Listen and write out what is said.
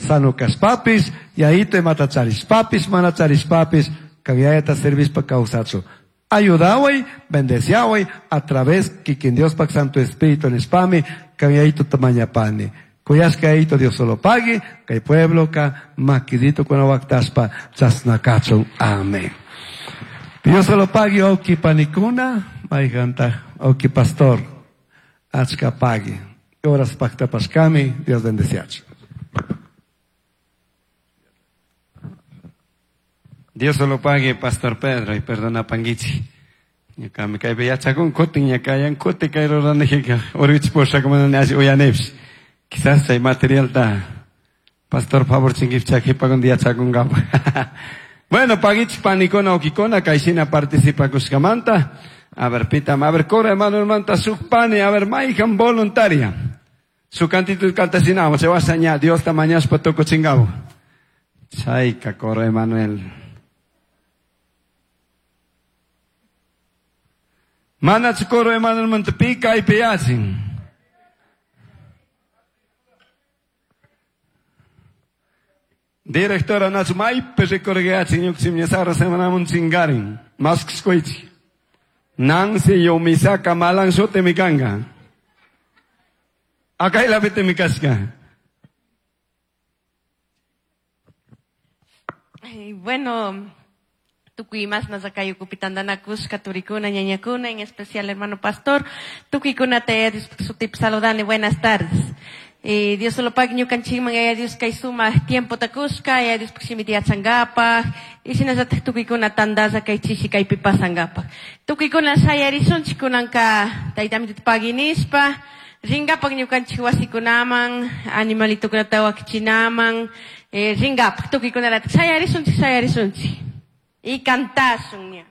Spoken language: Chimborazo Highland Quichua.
Sano kashpapish, yayito imata charishpapish, mana charishpapish, kan yayata servishpa kawsachun. Ayudaway, bendeciaway, a través kikin Diospak Santo Espíritu nishpami, kan yayituta mañapani. Kuyashka yayito Dios solo pagui, kay puebloka makidito waktashpa chasna kachun. Amén. Dios solo pagui, oki panikuna, mayganta, oki pastor, achka pagui. Horas paktapashkami, Dios bendeciachu. Dios solo pague, Pastor Pedro, y perdona panguichi. Ñuka kaypi yachakun kutin ñakayan kuti kay ruranijika urwich pushak mana alli uyanipsh. Quizás chay materialta Pastor favor chinkipcha qhipakundi yachakunkapa. Bueno, paguich panikuna ukikuna kayshina participakushkamanta. A ver, pitam, a ver, coro hermano manta suk pani, a ver, mayhan voluntaria. Su cantito cantasinamo, se va a Dios ta mañashpa tukuchingabo. Chayka coro Emanuel. Mana coro Emanuel manta pi kaypi yachin. Directora nachu maypi rikurgayachin ñuqchim ñasara semanamun chingarin. Maskskuichi. Nancy Yomisaka malan shuti kanka. Akaylapi mi kashka. Bueno, tukuy mas nasakayukupitantanakushka turikuna ñañakuna, en especial hermano pastor, tukuykuna te sutip saludani, buenas tardes. Dios solo pag ñukanchikman yaya Dios kay sumak tiempo takushka, yaya Dios shimita yachankapak, y shinallatak tukuykuna tandalla kay chishi kaypi pasankapak. Tukuykuna shayarishunchik kunanka tayta amitita pagui nishpa, rinkapak ñukanchik wasikunaman, animalitokunata wakichinaman, rinkapak tukuykunalatak shayarishunchik, shayarishunchik. Y cantashun ña.